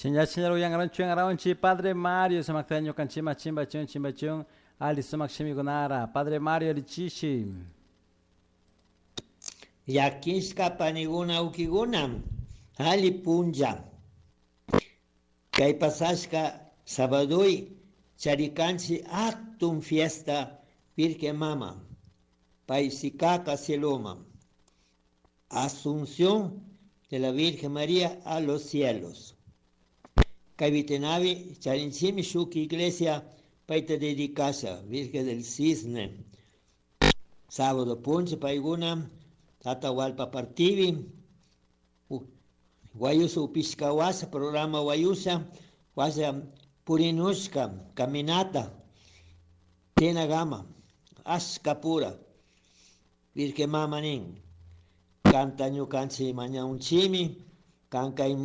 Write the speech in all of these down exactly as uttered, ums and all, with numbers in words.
Señor uyangaranchi Padre Mario sumakta ñukanchima chimbachun chimbachun ali sumak shimikunara Padre Mario lichishi. Yakishka paniguna ukiguna ali punja. Kay pasashka sabadui charikanchi atun fiesta Virgen Mama. Paisikaka cieloma. Asunción de la Virgen María a los cielos. Kay charinchimi shuk iglesia paita dedicasha Virgen del Cisne. Sábado puncha paiguna Atahualpa partivi Guayusa upishka wasa programa Guayusa wasa purinushka caminata Tenagama Ashkapura Virgen Mama nin kanta ñukanchik mañaunchimi kan kay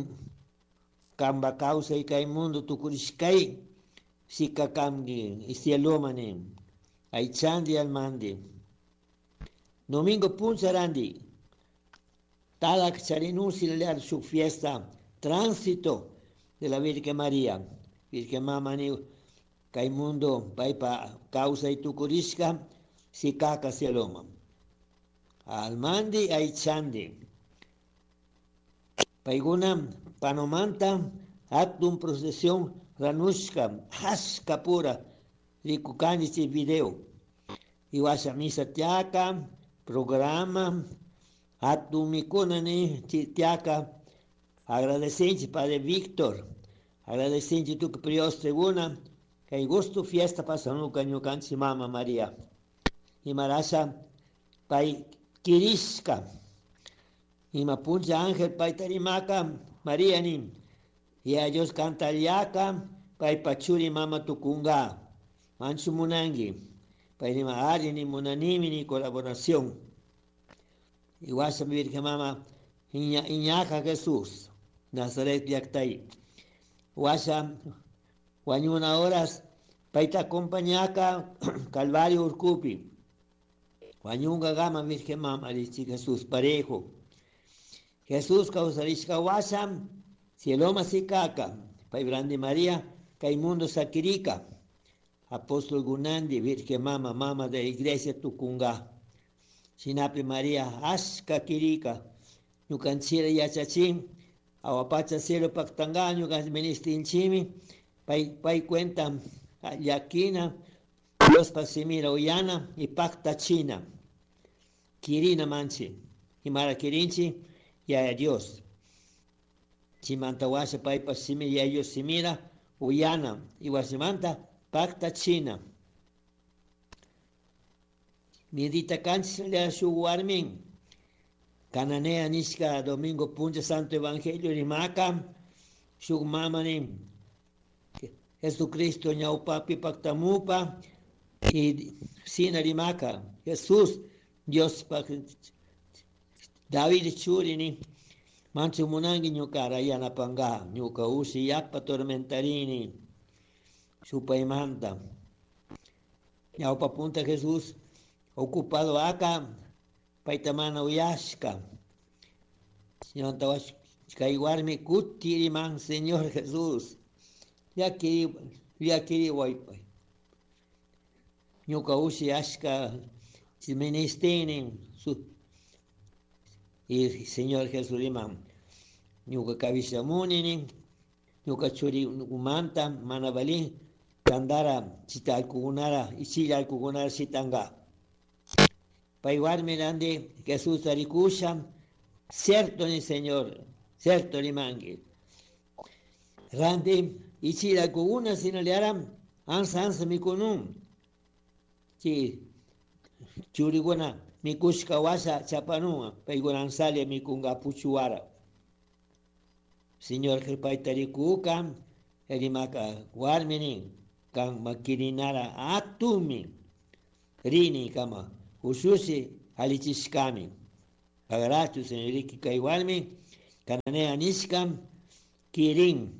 kamba kawsay kay mundo tukurishkay sika kamki cieloma nin aychandi almandi Domingo puncharandi Talak charinusi lear su fiesta tránsito de la Virgen María. Virgen Mama ni kay mundo paypa kawsay tukurishka sikaka cieloma Almandi aychandi Payguna panomanta hatun procesión ranushka ashka pura rikukanchik video. Iwasha misa tiaka programa hatun mikuna ni tiaka agradecenchik Padre Víctor agradecenchik tukuy priosteguna kay gusto fiesta pasanuka ñukanchik Mama María. Imarasha pay kirishka ima puncha ángel payta rimaka María nin y a Dios kantallaka paypa churi mama tukunga manchu munanki pay nima ari ni munanimi ni colaboración. Iwasha Virgen Mama iña, iñaja Jesús Nazaret llaktay washa wañuna horas payta acompañaka Calvario urkupi wañunga gama Virgen Mama richi Jesús parejo. Jesús kawsarishka washa cieloma sikaka pay brandi María kay mundo sakirika Apóstol Gunandi Virgen Mama Mama de la Iglesia tukunga Shinapi María ashka kirika ñukanchira yachachin awapacha cielo paktanga ñukanchik ministinchimi pay pay cuenta llakina Diospa simira uyana y paktachina kirina manchi imara kirinchi yaya Dios. Chimanta washa paypa simi yaya Dios simira uyana y wasimanta paktachina Midita kanchis shuk warmin Cananea nishka domingo puncha santo evangelio rimaka shuk mama nin Jesucristo ñawpapi paktamupa y sina rimaka Jesús Dios pa David churi ni manchu munanki ñukara yanapanga ñuka ushi yapa tormentarini supaymanta ñawpa punta Jesús ocupado aka payta mana uyashka ñanta kay warmi kuti riman Señor Jesús llakiri llakiriwaypay ñuka ushi ashka ministini su y Señor Jesús riman ñuka kawishamuni nin ñuka churi umanta mana valin tandara chita allkukunara ichilla allkukunara shitanga pay warmi randi Jesús rikusha cierto ni Señor cierto rimanki randi ichilla allkukuna sinallara ansa ansa mikunun chi churikuna mikushka washa chapanun paykuna ansalla mikunga puchuwara Señor payta rikuka rimaka warmi nin kan makirinara atumi rini kama ushushi alichishkami pagarachu señoriki kay warmi cananea nishka kirin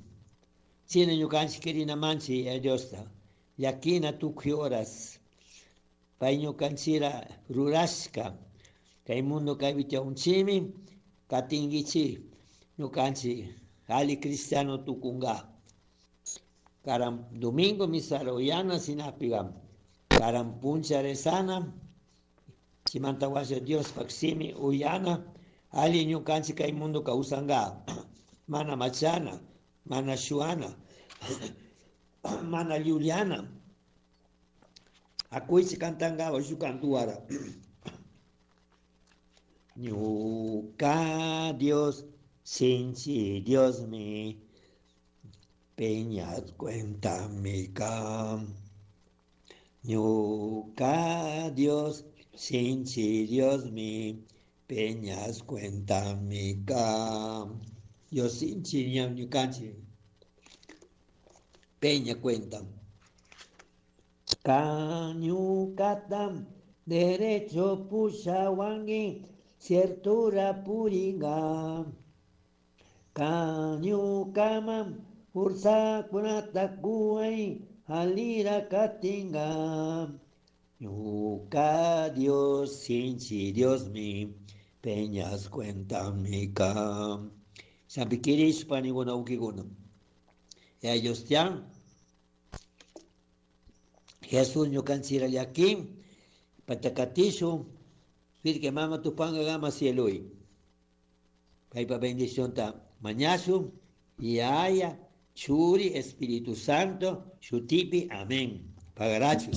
sina ñukanchik kirina manchi Diosta llakina tukuy horas pay ñukanchira rurashka kay mundo kaypi tiyaunchimi katinkichik ñukanchik Ali cristiano tukunga. Karam domingo misa uyana sinapiga. Karam puncha rezana. Chimanta washa Dios paksimi uyana. Ali ñukanchik kay mundo kawsanga. Mana machana, mana shuana, mana llullana. Akuychi cantanga shu cantuara. Ñuka Dios, sinchi Dios mi, peñas cuenta mi cam. Ñuka Dios, sinchi Dios mi, peñas cuenta mi cam. Dios sinchi ñam ñukanchi. Peña cuenta. Cañucatam, derecho pushawangi, ciertura puringa. Cañucamam, ursakunatakuay, alira katinga. Ñuka Dios, sinchi Dios mi, peñas cuenta mi cam. Sampikirish paniguna ukiguna. Ellos tian. Jesús ñukanchira llaki, pachakatishu, que mama tupanga gama cielui. Paipa bendición ta mañasu, yaya, churi, Espíritu Santo, shutipi, amén. Pagarachu.